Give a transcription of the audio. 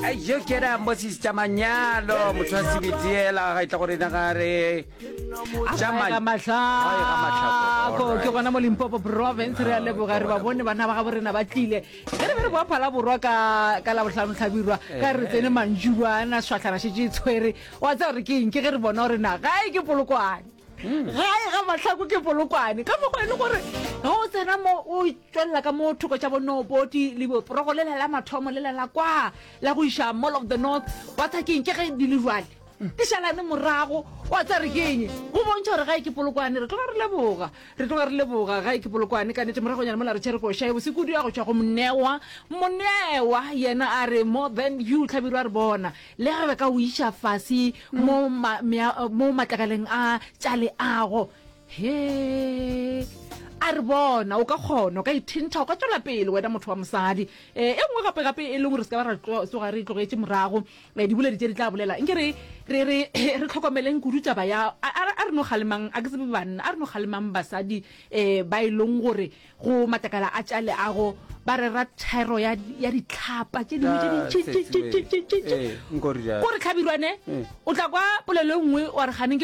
Yo ke ra Moses tša manyalo motho wa sebediela ga e tla gore na ga re tša mahlako ke gona mo Limpopo province re a leboga re ba bone bana ba gabo rena ba tlile ge re be re boa phala borwa ka ka la bohlano tlhabirwa ka re tsene mantšubana swahlana šetše e tshwere wa tseba gore ke eng ke ge re bona gore na gae ke polokwane Gae ga Mahlako ke Polokwane. Ka mokgwa e le gore ge o tsena mo o tšwelela ka mo thoko tša bonoboti le boporogo lela la mathomo lela la kwa la go iša Mall of the North wa tsa keng ke ge di le jwale di šalane morago wa tsa re ke eng go bontšha gore gae ke Polokwane re tloga re leboga re tloga re leboga gae ke Polokwane ka nete moragonyana mola re tšhere koša e bose kudu ya go tšwa go Monewa Monewa yena a re more than you Hlabirwa re bona Le ge ba ka o iša fase mo, ma, mea, mo matlakaleng a tša leago, he, a re bona, o ka kgona, o ka ithintha, o ka tšwela pele, wena motho wa mosadi. E, e nngwe gape, gape e leng gore se ka ba ra tsoga re e tlogetše morago, e, diboledi tše di tla bolela. Nke re, re, re, re hlokomeleng kudu taba ya, a, a, a re no kgalemang, a ke tsebe banna, a re no kgalemang basadi, e, ba e leng gore Go matlakala a tša leago ba rera thero ya, ya ditlhapa tše dingwe tše dintši-ntši-ntši-ntši-ntši. Ko re hlabirwane, o tla kwa polelo e nngwe wa re kganeng ke.